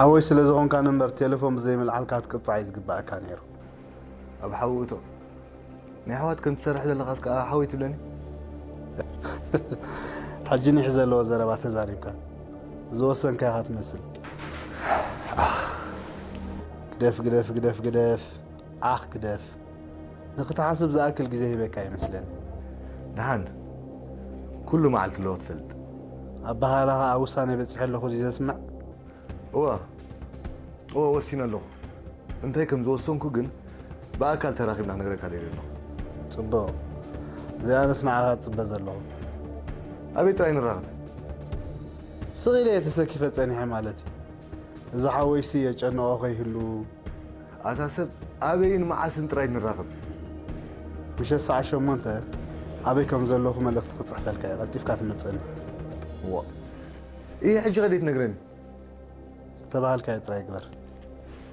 ሓወይ ስለ ዝኾንካኒ እምበር ቴሌፎን ብዘይምልዓልካ ክትቅጻዕ እዩ ዝግባኣካ ነይሩ። ኣብ ሓዊ እቶ ናይ ኣሕዋት ከም ትሰርሕ ዘለኻስ ከኣ ሓወይ ትብለኒ? ሕጂ ኒሕ ዘለዎ ዘረባ ተዛሪብካ ዝወሰንካ ኢኻ ትመስል። ግደፍ ግደፍ ግደፍ ግደፍ ዓኽ ግደፍ። ንኽትሓስብ ዝኣክል ግዜ ሂበካ ይመስለኒ። ደሓን ኩሉ መዓልቲ ኣለዎ ትፈልጥ። ኣበሃህላኻ ኣብ ውሳነ በጺሐ ኣለኹ ድዩ ዘስምዕ? እወ እወ ወሲነ ኣለኹ። እንታይ ከም ዝወሰንኩ ግን ብኣካል ተራኺብና ክነግረካ ደልየ ኣለኹ። ጽቡቕ። እዚኣንስ ንዓኻ እጽበ ዘለኹ። ኣበይ ጥራይ ንራኸብ? ስቕ ኢለ እየ ተሰኪፈ ጸኒሐ ማለት እዩ። እዚ ሓወይሲ የጨንቖ ከይህሉ። ኣታ ሰብ ኣበይን መዓስን ጥራይ ንራኸብ? ምሸት ሰዓት ሸሞንተ ኣበይ ከም ዘለኹ መልእኽቲ ክጽሕፈልካ እየ። ቀልጢፍካ ትመጸኒ። ዋ ይህ ሕጂ ከደይ ትነግረኒ? ዝተባሃልካዮ ጥራይ ግበር።